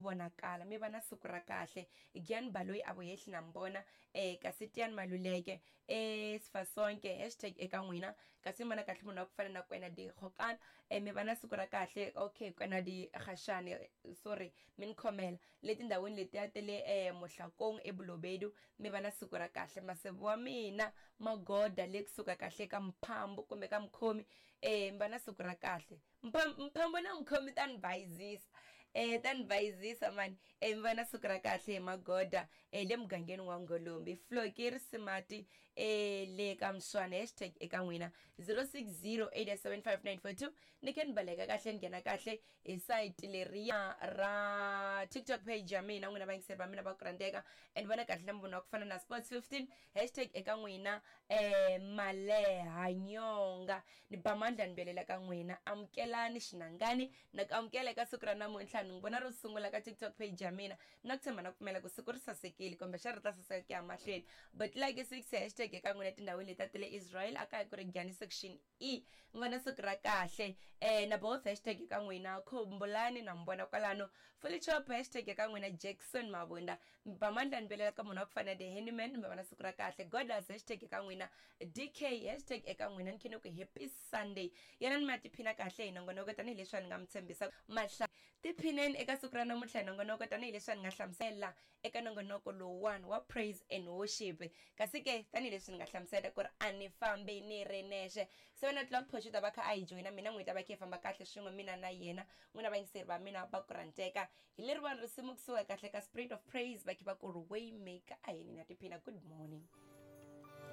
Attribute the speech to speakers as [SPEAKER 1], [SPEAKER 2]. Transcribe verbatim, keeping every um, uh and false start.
[SPEAKER 1] Vonakala mi va na siku ra kahle. Gian Baloyi a vuhehli na mbona eh kasi Tiani Maluleke eh Sifasonke hashtag eka n'wina, kasi mi vona kahle munhu wa ku fana na Kwena di Gokana eh mi va na siku ra kahle. Okay, Kwena di Gashane, sorry, mi ni khomela le tindhawini letiya ta le eh Mohlakong eBulobedu, mi va na siku ra kahle. Maseve wa mina Magoda le kusuka kahle ka Mphambo kumbe ka Mkhomi eh mi va na siku ra kahle. Mphambo na Mkhomi ta ni bayizisa eh ta ni bayizisa mani eh mi va na siku ra kahle hi Magoda eh le mugangeni wa Ngolombi. Floki Risimati eh le ka Mswana hashtag eka n'wina zero six zero eight seven five nine four two. Ni khe ni baleka kahle ni nghena kahle hi site leriya ra TikTok page ya mina, n'wina vayingiseri va mina va ku rhandzeka and vona kahle na munhu wa ku fana na Sports fifteen hashtag eka n'wina eh Maleha Nyonga. Ni ba mandla ni belela ka n'wina, amukelani xinangani na ku amukela eka siku ra namuntlha. Ni n'wi vona ro sungula ka TikTok page ya mina, na ku tshemba na ku pfumela ku siku ri sasekile kumbe xa ri ta saseka ku ya mahlweni. But like six hashtag eka n'wina tindhawini leti ta le Israel a kaya ku ri Gyani section E, mi va na siku ra kahle eh na both hashtag eka n'wina Khumbulani na mi vona kwalano. Fully Chop hashtag eka n'wina Jackson Mabunda, mi ba mandla ni belela ka munhu wa ku fana na The Handyman, mi va na siku ra kahle. Godas hashtag eka n'wina D K hashtag eka n'wina ni khene ku happy Sunday. Yena ni ma tiphina kahle hi nongonoko tanihileswi ni nga mi tshembisa mahla tiphineni eka siku ra namuntlha hi nongonoko tanihileswi ni nga hlamusela eka nongonoko lowuwani wa praise and worship. Kasi ke tanihileswi ni nga hlamusela ku ri a ni fambi ni ri nexe, seven o'clock Pocho ta va kha a hi joyina mina n'wi ta va kha hi famba kahle swin'we mina na yena. N'wina vayingiseri va mina va ku rhandzeka hi leriwani risimu kusuka kahle ka Spirit of Praise va kha va ku ri Waymaker. A hi ni na tiphina. Good morning.